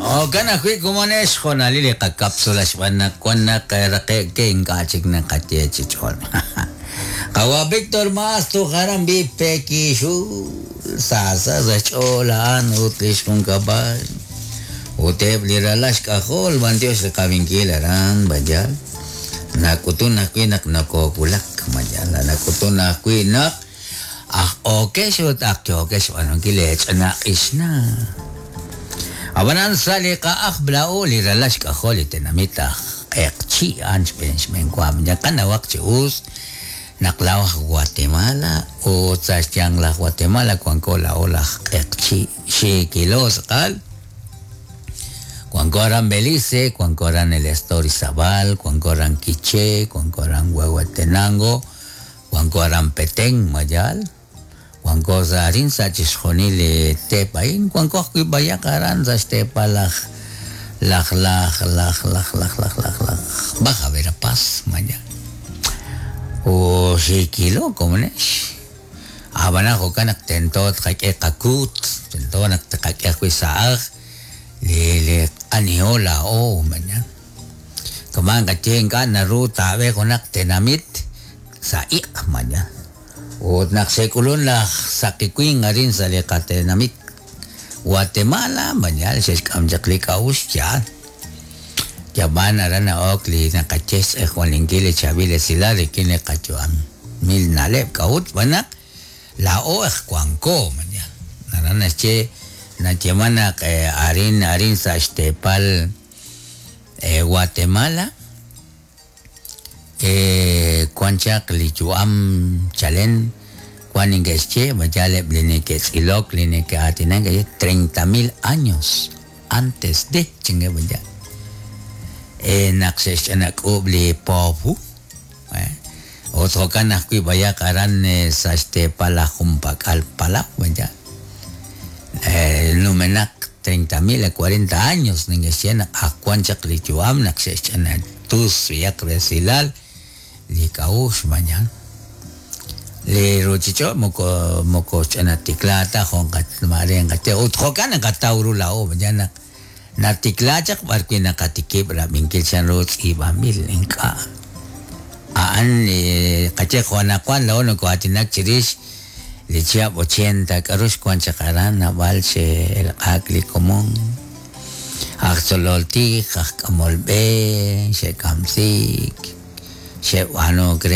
Jo'kan ajwi' komonex xhoonalil li qakapsula xb'aan naq wan naq raqe'k ke ink'a' chik naqaye chi ch'ol. Qawa' Víctor Maas toj aran b'i Pekixul saasa sa' xch'ool a'an ut li xjunkab'al ut eb' li ralal xk'ajol b'antiox li qab'inkil aran Bayal. Nak'utun ajwi' naq nokowulak Mayal, nak'utun ajwi' naq aj okex ut aj yookex xb'aanunkil leech'ina q'ixna. Ab'anan sa' li qa'aj Bla'u li ralal xk'ajol li tenamit aj Q'eqchi' a'an xb'een xb'een wa qanawaq chi us naq laa'o aj Guatemala ut sa' xyanq laj Guatemala wanko laa'o laj Q'eqchi' xiikilo tz'aqal. Wanko aran Belice, wanko aran el estado Orizabal, wanko aran Quiché, wanko aran Huehuetenango, wanko aran Petén, Mayal, wanko sa' arin sa' chixjunil li teep a'in, wanko ajwi' b'ayaq aran sa' xteepal laj laj laj laj laj laj laj laj laj Baja Verapaz, Mayal. O xiikilo komonex. Ab'anan jo'kan naq tento tqak'e qakuut, tento naq tqak'e ajwi' sa' aj li li aniho laa'o, mañan. Kama'an qaye ink'a' naru taab'e junaq tenamit sa' iq', mañan. Ut naq xe'k'ulun laj saqi winq arin sa' li qatenamit Guatemala, mañan xe'xk'am chaq li k'a'uxl yaal. Yab'an aran na'ok li naqaye xtz'ejwalinkil li chaab'il esilal rik'in li qayu'am. Mil na'leb' k'a'ut xb'aan naq laa'o aj wanko, mañan. Aran naxye nayeeman naq arin arin sa' xteepal Guatemala wan chaq li yu'am chalen wan neke'xye ma yaal eb' li neke'tz'ilok li neke'aatinak 30,000 años antes de chankeb' yaal naq xe'xch'anak'uub' li poopu ut jo'kan ajwi' b'ayaq aran sa' xteepal laj junpak'al palaw yaal numenaq 30,000 a 40 años neke'xye naq ak wan chaq li yu'am naq xe'xch'ana tus b'ayaq resilal li k'a'uxl mañan. Li ruuchich'och' moko moko xch'ana tiklaak ta jo' maare nqaye ut jo'kan naqataw ru laa'o mañan naq natiklaak chaq b'arwi' naqatikib' rab'inkil chanru tz'iib'anb'il ink'a'. A'an li qaye jo' anaqwan laa'o noko'aatinak chirix li chihab' 80 k'a'ru xwan chaq aran naab'al xe'elq'aak li komon aj tzolol tij, aj k'amol b'e, xe'kamsiik, xe'b'aanunk re.